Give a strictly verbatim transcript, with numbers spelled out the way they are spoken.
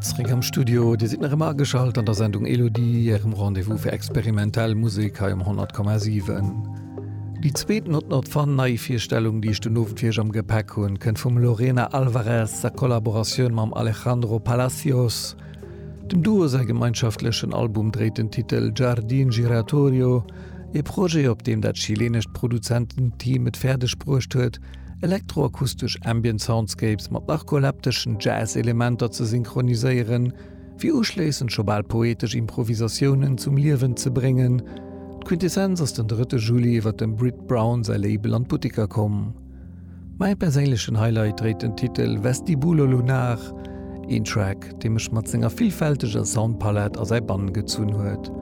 Zréck am Studio, Dir sidd nach ëmmer ageschalt an der Sendung Elodie, Ärem Rendez-vous fir experimentell Musek hei um honnert Komma siwen. Déi zweet Not Not Fun Neivirstellung, déi ech den Owend fir iech am Gepäck hunn, kënnt vum Lorena Alvarez a Kollaboratioun mam Alejandro Palacios. Dem Duo säi gemeinschaftlechen Album dréit den Titel Jardín Giratorio, ee Projet, op deem dat chilenescht Produzententeam et fäerdeg bruecht huet, elektroakustesch Ambient Soundscapes mat narkolepteschen Jazz-Elementer ze synchroniséieren, fir uschléissend scho bal poetesch Improvisatiounen zum Liewen ze bréngen. D'Quintessenz ass den drëtte Juli iwwer dem Britt Brown säi Label an d'Butteker komm. Mäi perséinlechen Highlight dréit den Titel Vestibulo Lunar, een Track, dee mech mat senger villfälteger Soundpalett a säi Bann gezunn huet.